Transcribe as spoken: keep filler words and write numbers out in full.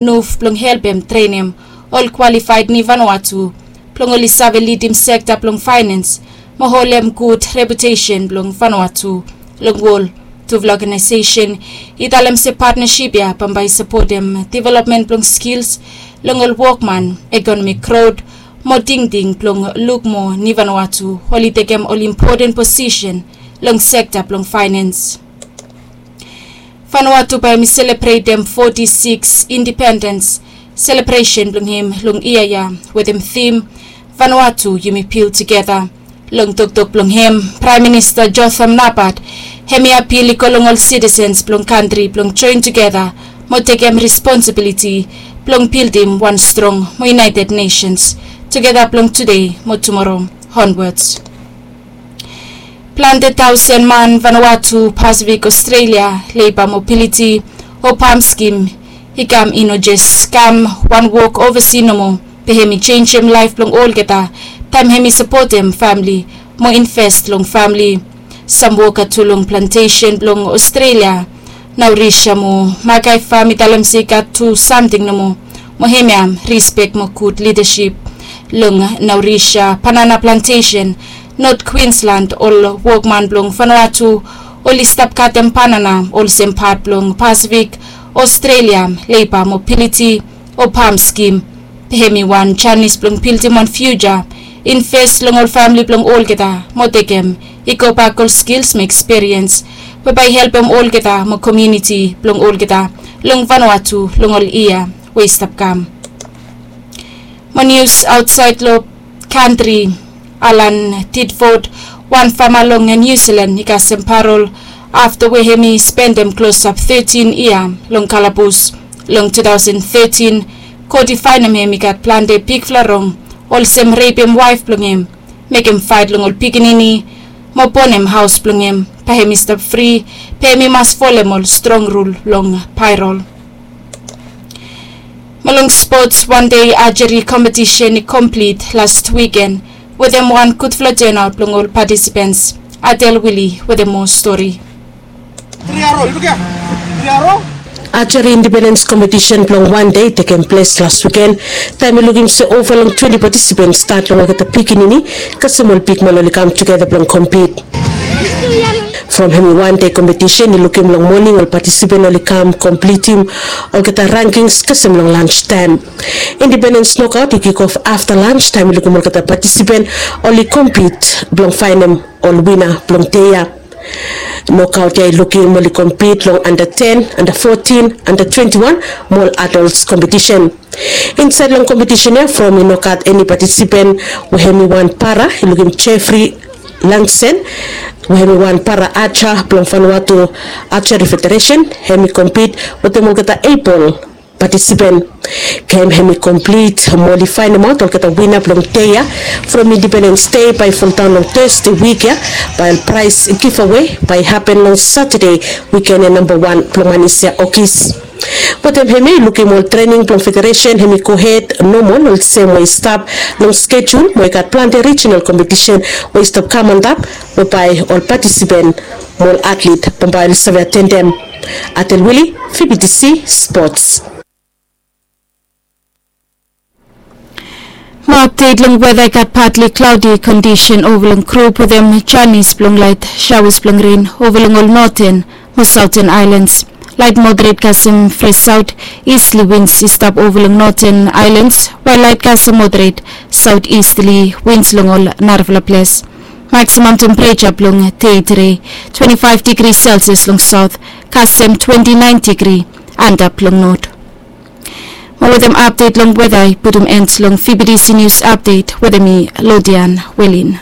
nuf blong helpem trenem ol kwalifaed ni Vanuatu blong oli save lidim sekta blong faenens mo holem gud reputesen blong Vanuatu long wol. Tufala ogenaesesen i talem se patnasip ya bambae i sapotem developmen blong skils long ol wokman, ekonomik grot mo tingting blong luk mo ni Vanuatu oli tekem ol impoten posisen long sekta blong faenens. Vanuatu bae hem i selebretem foti sikis indipendens selebresen blong hem long yia ya wetem tim Vanuatu yumi bil tugeta. Long toktok blong hem, Praem Minista Jotham Napat hem i apil i go long ol sitisens blong kantri blong joen tugeta mo tekem responsibiliti blong bildim wan strong mo yunaeted nesens tugeta blong tude mo tumoro onwats. Plante taosen man Vanuatu, Pasifik, Aostralia, Leiba Mobiliti o pam skim i kam i no jes kam wan wok ovasi nomo, be hem i jenjem laef blong olgeta taem hem i sapotem famle mo inves long famle. Sam woka tu long plantesen blong Aostralia, Naurisia mo Makai fam i talem se i gat tu samting nomo, mo hemia rispek mo gud lidasip. Long Naurisia banana plantesen, Not Kwinslan, ol wokman blong Vanuatu oli stap katem banana olsem pat blong Pasifik, Aostralia, Leiba Mobiliti o pam skim. Be hem i wan janis blong bildim wan fiuja, inves long ol famle blong olgeta mo tekem i gobak ol skils mo ekspiriens we bae i helpem olgeta mo komuniti blong olgeta long Vanuatu long ol yia we i stap kam. Mo nius aotsaed long kantri, Alan Tidford, wan fama long Niu Silan i kasem parol afta we hem i spendem klosap tetin yia long kalabus. Long tu taosen tetin, kot i faenem hem i gat plante bigfala rong, olsem repem waef blong hem, mekem faet long ol pikinini mo bonem haos blong hem. Bae hem i stap fri, be hem i mas folem ol strong rul long parol. Mo long spots, wan dei ajeri kompetisen i komplit las wiken wetem wan gudfala tenaot blong ol patisipens. Adel Wili wetem moa stori. Ajeri indipendens kompetisen blong wan dei i tekem ples las wiken, taem i lukim se ova long twenti patisipens, stat long olgeta pikinini kasem ol bigman, oli kam tugeta blong kompit. From hem i wan dei kompetisen i lukim long moning ol patisipen oli kam komplitim olgeta rankings kasem long lanstaem. Indipendens nokaot i kikof afta lanstaem i lukim olgeta patisipen oli kompit blong faenem ol wina blong dei ya. Nokaot ya i lukim oli kompit long anda ten, anda fotin, anda twenti wan mo ol adols kompetisen. Insaed long kompetisen ya, from i no gat eni patisipen we hem i wan para, i lukim Jeffrey Langsen we hem i wan para aja blong Vanuatu Archery Federation, hem i kompit wetem olgeta ebol patisipen. Gem hem i komplit mo oli faenemaot olgeta wina blong dei ya from Independens Dei bae i foldaon long Tøsde wik ya, bae ol praes givawe bae i hapen long Satade wiken ya, namba wan blong manis ya, Ogis. Wetem hemia i lukim ol trening blong federesen hemi gohed nomol olsem we i stap long skejul mo i gat plante rijinal kompetisen we i stap kam antap we bae ol patisipen mo ol atlet bambae oli save atendem. Atel Wili, V B T C Sports. Mo apdet long weda, i gat patli klaodi kondisen ova long grup wetem janis blong laet saoas blong ren ova long ol noten mo saoten aelans. Laet moderet kasem fres saot istli wins i stap ova long noten aelans, wael laet kasem moderet saot istli wins long ol narafala ples. Maksimam tempereja blong dei tede twenti faef digri selsias long saot kasem twenti naen digri antap long not. Mo wetem apdet long weda i putum en long V B T C nius apdet wetem mi, Lodian Welin.